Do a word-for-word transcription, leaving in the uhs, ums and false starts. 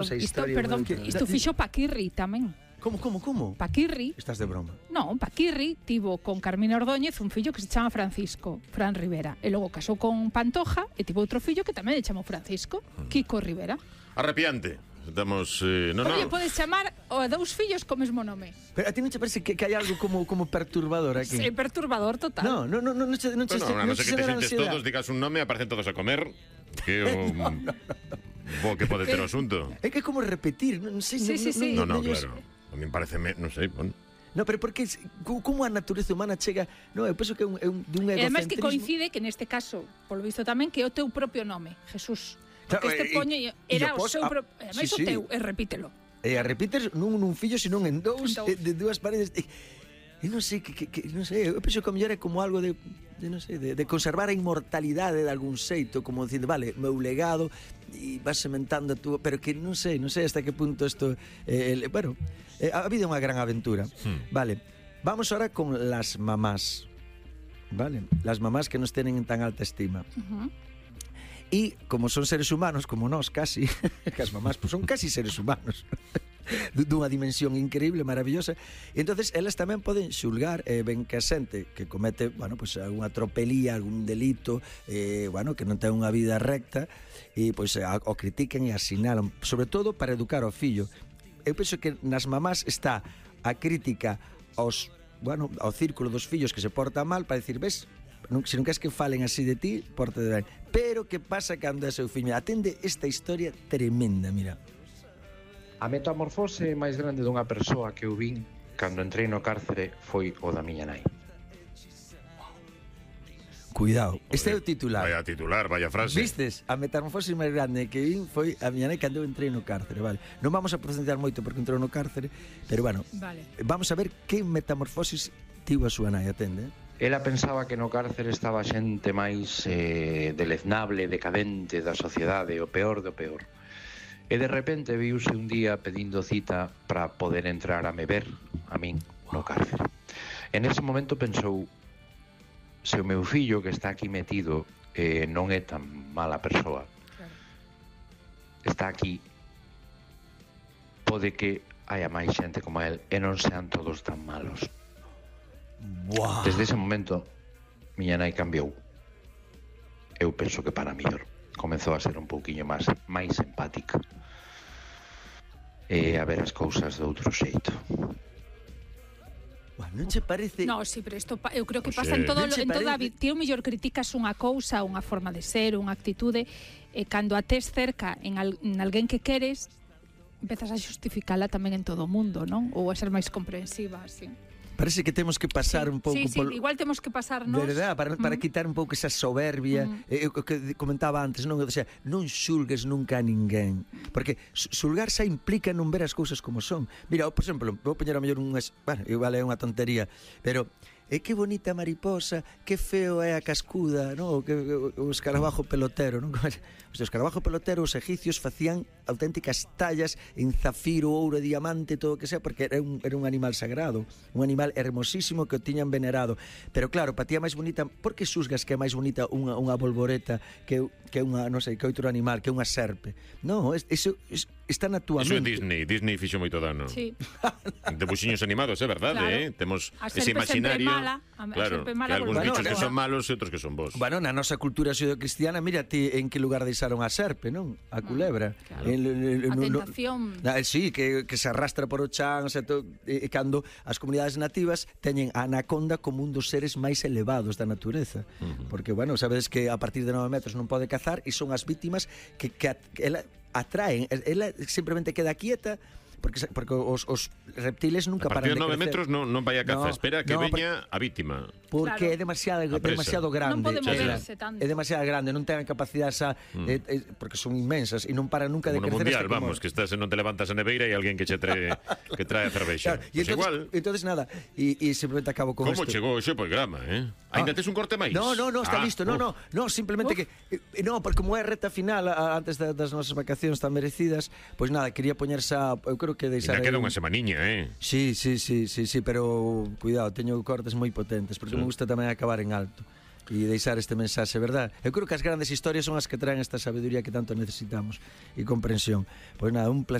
Esa Isto, historia, perdón, bueno, isto fixo Paquirri tamén. Como, como, como? Paquirri, Estás de broma. non, Paquirri tivo con Carmina Ordóñez un fillo que se chama Francisco, Fran Rivera, e logo casou con Pantoja e tivo outro fillo que tamén se chamou Francisco, Kiko Rivera. Arrepiante. Estamos, eh, no, Oye, no. podes chamar a dous fillos co mesmo nome. Pero a ti non te parece que, que hai algo como, como perturbador aquí? É perturbador total. No, no, no, no, no, che- non, che- Bueno, a non no ser che que te xera xentes ansiedade. todos, digas un nome, aparecen todos a comer. Que o... Bo que pode ter o asunto. É que é como repetir, non sei, Sí, non, sí, non, sí. No, no, non, non, claro. A mí parece, non sei, bueno. No, pero porque es- co- como a natureza humana chega, no, eu penso que é un, é un, de un E además que egocentrismo. coincide que neste caso, polo visto tamén, que é o teu propio nome, Jesús. Porque Claro, este e- poño e era o o pos- seu ah, propio... Ademais sí, o sí. teu, e repítelo. E a repites non nun fillo, senón en dous, En dous. de, de dúas paredes. E, e non sei, que, que, que, non sei, eu penso que a mellor é como algo de, de non sei, de, de conservar a inmortalidade de algún xeito, como dicindo, vale, meu legado, e vas sementando a túa, pero que non sei, non sei hasta que punto isto, eh, el, bueno, eh, a vida é unha gran aventura. Hmm. Vale, vamos ahora con las mamás, vale, las mamás que nos tienen en tan alta estima. Uh -huh. E como son seres humanos, como nós casi, que as mamás pues, son casi seres humanos dunha dimensión increíble, maravillosa, e entonces elas tamén poden xulgar eh, ben que a xente que comete, bueno, pues algunha tropelía, algún delito, eh, bueno, que non ten unha vida recta, e pois pues, o critiquen e asinalan, sobre todo para educar ao fillo. Eu penso que nas mamás está a crítica aos, bueno, ao círculo dos fillos que se porta mal, para decir, ves, non, se non queres que falen así de ti, porta de ben. Pero que pasa cando é seu fillo? Atende esta historia tremenda, mira. A metamorfose máis grande dunha persoa que eu vin cando entrei no cárcere foi o da miña nai. Cuidado, este é o titular. Vaya titular, vaya frase. Vistes? A metamorfose máis grande que vin foi a miña nai cando eu entrei no cárcere, vale. Non vamos a profundizar moito porque entrou no cárcere, pero bueno, Vale. vamos a ver que metamorfosis tivo a súa nai, atende, eh? Ela pensaba que no cárcere estaba xente máis eh, deleznable, decadente da sociedade, o peor do peor. E de repente viuse un día pedindo cita para poder entrar a me ver a min no cárcere. En ese momento pensou, se o meu fillo que está aquí metido eh, non é tan mala persoa, Claro. está aquí, pode que haya máis xente como el e non sean todos tan malos. Buah. Desde ese momento, miña nai cambiou. Eu penso que para mellor. Comezou a ser un pouquiño máis máis empática. E a ver as cousas de outro xeito. Buah, non che parece... No, sí, pero isto pa- eu creo que Pois pasa é. en todo Non che en toda a parece? vida. Ti o mellor criticas unha cousa, unha forma de ser, unha actitude, e cando a tes cerca en, al, en alguén que queres, empezas a xustificala tamén en todo o mundo, non? Ou a ser máis comprensiva, así. Parece que temos que pasar Sí, un pouco sí, sí, polo... igual temos que pasar nós. Verdad, para, para Mm. quitar un pouco esa soberbia, Mm. eh, o que comentaba antes, non, o sea, non xulgues nunca a ninguén, porque xu- xulgar xa implica non ver as cousas como son. Mira, por exemplo, vou poñer a mellor unhas, bueno, igual é unha tontería, pero é que bonita mariposa, que feo é a cascuda, no? Que o escarabajo pelotero, non? O escarabajo pelotero, os egipcios facían auténticas tallas en zafiro, ouro, diamante, todo o que sea, porque era un, era un animal sagrado, un animal hermosísimo que o tiñan venerado. Pero claro, para ti é máis bonita, por que xusgas que é máis bonita unha, unha bolboreta que, que unha, non sei, que outro animal, que unha serpe? Non, es, eso es, está na túa Iso é mente. Disney, Disney fixo moito dano. Sí. Debuxiños animados, é verdade, Claro. eh? Temos A ese serpe sempre imaginario. mala, a- a claro, serpe que mala algúns volve bichos loca. que son malos e outros que son bons. Bueno, na nosa cultura xudeocristiana, mira ti en que lugar deixaron a serpe, non? A culebra. claro. En- en- en- A no- no- tentación. Ah, sí, que, que se arrastra por o chan, o sea, to, e, e cando as comunidades nativas teñen a anaconda como un dos seres máis elevados da natureza. Uh-huh. Porque, bueno, sabedes que a partir de nove metros non pode cazar e son as vítimas que, que, at, que ela atraen. Ela simplemente queda quieta porque, porque os, os reptiles nunca A paran partir de de nove crecer. metros non, non vai a caza, No, espera que no, veña a vítima. Porque Claro. é demasiado, A presa. demasiado grande. Non pode Ela. moverse tanto. É demasiado grande, non ten a capacidade esa, mm. eh, eh, porque son inmensas e non paran nunca Como de no crecer. mundial, hasta que vamos, moren. que estás e non te levantas a neveira e alguén que che trae que trae a cervexa. Claro, Pues e entonces, igual. entonces nada, e, e simplemente acabo con Como esto. chegou ese programa, eh? Ainda Ah. tes un corte máis? No, no, no, está Ah, listo. No, uf. no, no, simplemente Uf. que eh, no, porque como é a reta final a, antes da, das nosas vacacións tan merecidas, pois pues nada, quería poñerse a, eu creo que deixar Ainda queda aí unha un- semaniña, eh? Sí, sí, sí, sí, sí, pero cuidado, teño cortes moi potentes porque Sí. me gusta tamén acabar en alto. e deixar este mensaxe, verdad? Eu creo que as grandes historias son as que traen esta sabiduría que tanto necesitamos e comprensión. Pois nada, un placer